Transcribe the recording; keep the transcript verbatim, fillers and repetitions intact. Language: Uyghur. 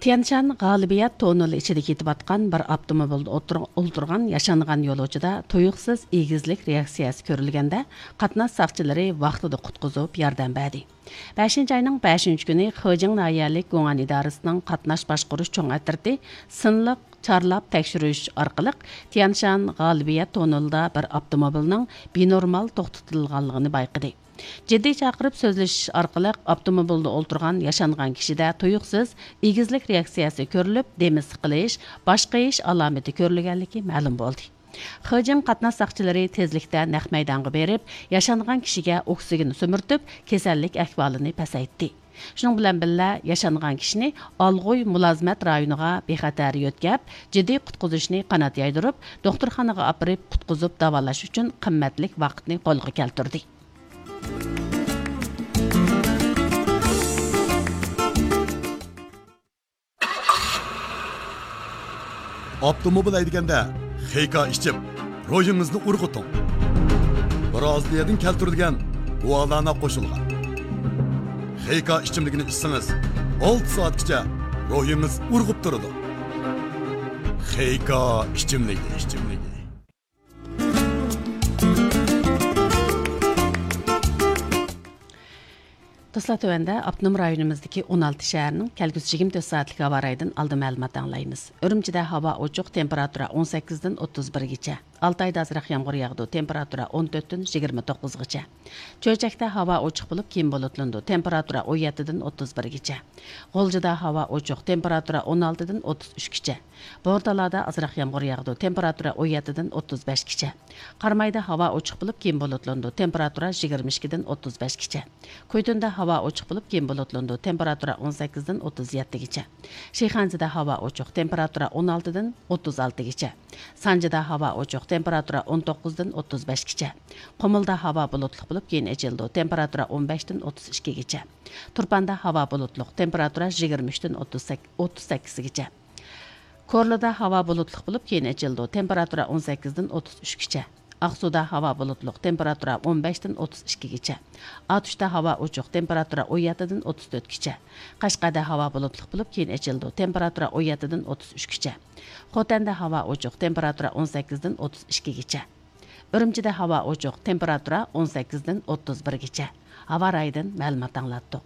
تيەنشان غالىبىيەت توننېلى ئىچىدە كېتىۋاتقان بىر ئاپتوموبىلدا ئولتۇر-، ئولتۇرغان ياشانغان يولۇچىدا تۇيۇقسىز ئېگىزلىك رېئاكسىيەسى كۆرۈلگەندە، قاتناش ساقچىلىرى ۋاقتىدا قۇتقۇزۇپ ياردەم بەردى. بەشىنچى ئاينىڭ بەشىنچى كۈنى خېجىڭ ناھىيەلىك گۇڭئەن ئىدارىسىنىڭ قاتناش باشقۇرۇش چوڭ ئەترىتى سىنلىق چارلاپ تەكشۈرۈش ئارقىلىق تيەنشان غالىبىيەت توننېلىدا بىر ئاپتوموبىلنىڭ بىنورمال توختىتىلغانلىقىنى بايقىدى. جىددىي چاقىرىپ سۆزلىشىش ئارقىلىق ئاپتوموبىلدا ئولتۇرغان ياشانغان كىشىدە تۇيۇقسىز ئېگىزلىك رېئاكسىيەسى كۆرۈلۈپ، دېمى سىقىلىش، باش قېيىش ئالامىتى كۆرۈلگەنلىكى مەلۇم بولدى. خېجىڭ قاتناش ساقچىلىرى تېزلىكتە نەق مەيدانغا بېرىپ، ياشانغان كىشىگە ئوكسىگېن سۈمۈرتۈپ، كېسەللىك ئەھۋالىنى پەسەيتتى. شۇنىڭ بىلەن بىللە، ياشانغان كىشىنى ئالغۇي مۇلازىمەت رايونىغا بىخەتەر يۆتكەپ، جىددىي قۇتقۇزۇشنى قانات يايدۇرۇپ، دوختۇرخانىغا ئاپىرىپ قۇتقۇزۇپ داۋالاش ئۈچۈن قىممەتلىك ۋاقىتنى قولغا كەلتۈردى. ئاپتوموبىل ھەيدىگەندە خېيكا ئىچىپ، روھىڭىزنى ئۇرغۇتۇڭ. برازىلىيەدىن كەلتۈرۈلگەن گۇالانا قوشۇلغان خېيكا ئىچىملىكىنى ئىچسىڭىز، ئالتە سائەتكىچە روھىڭىز ئۇرغۇپ تۇرىدۇ. خېيكا ئىچىملىكى، ئىچىملىكى. دوستلار، تۆۋەندە ئاپتونوم رايونىمىزدىكى ئون ئالتە شەھەرنىڭ كەلگۈسى يىگىرمە تۆت سائەتلىك ھاۋا رايىدىن ئالدىن مەلۇمات ئاڭلايمىز. ئۈرۈمچىدە ھاۋا ئوچۇق، تېمپېراتۇرا ئون سەككىزدىن ئوتتۇز بىرگىچە. ئالتايدا ئازراق يامغۇر ياغىدۇ، تېمپېراتۇرا ئون تۆتتىن يىگىرمە توققۇزغىچە. چۆچەكتە ھاۋا ئوچۇق بولۇپ، كېيىن بۇلۇتلىنىدۇ، تېمپېراتۇرا ئون يەتتىدىن ئوتتۇز بىرگىچە. غۇلجىدا ھاۋا ئوچۇق، تېمپېراتۇرا ئون ئالتىدىن ئوتتۇز ئۈچكىچە. بورتالادا ئازراق يامغۇر ياغىدۇ، تېمپېراتۇرا ئون يەتتىدىن ئوتتۇز بەشكىچە. قارامايدا ھاۋا ئوچۇق بولۇپ، كېيىن بۇلۇتلىنىدۇ، تېمپېراتۇرا يىگىرمە ئىككىدىن ئوتتۇز بەشكىچە. كويتۇندا ھاۋا ئوچۇق بولۇپ، كېيىن بۇلۇتلىنىدۇ، تېمپېراتۇرا ئون سەككىزدىن ئوتتۇز يەتتىگىچە. شىخەنزىدە ھاۋا ئوچۇق، تېمپېراتۇرا ئون ئالتىدىن ئوتتۇز ئالتىگىچە. سانجىدا ھاۋا ئوچۇق، تېمپېراتۇرا ئون توققۇزدىن ئوتتۇز بەشكىچە. قۇمۇلدا ھاۋا بۇلۇتلۇق بولۇپ، كېيىن ئېچىلىدۇ، تېمپېراتۇرا ئون بەشتىن ئوتتۇز ئىككىگىچە. تۇرپاندا ھاۋا بۇلۇتلۇق، تېمپېراتۇرا يىگىرمە ئۈچتىن ئوتتۇز سەككىز، ئوتتۇز سەككىزگىچە. كورلىدا ھاۋا بۇلۇتلۇق بولۇپ، كېيىن ئېچىلىدۇ، تېمپېراتۇرا ئون سەككىزدىن ئوتتۇز ئۈچكىچە. ئاقسۇدا ھاۋا بۇلۇتلۇق، تېمپېراتۇرا ئون بەشتىن ئوتتۇز ئىككىگىچە. ئاتۇشتا ھاۋا ئوچۇق، تېمپېراتۇرا ئون يەتتىدىن ئوتتۇز تۆتكىچە. قەشقەردە ھاۋا بۇلۇتلۇق بولۇپ، كېيىن ئېچىلىدۇ، تېمپېراتۇرا ئون يەتتىدىن ئوتتۇز ئۈچكىچە. خوتەندە ھاۋا ئوچۇق، تېمپېراتۇرا ئون سەككىزدىن ئوتتۇز ئىككىگىچە. ئۈرۈمچىدە ھاۋا ئوچۇق، تېمپېراتۇرا ئون سەككىزدىن ئوتتۇز بىرگىچە. ھاۋا رايىدىن مەلۇمات ئاڭلاتتۇق.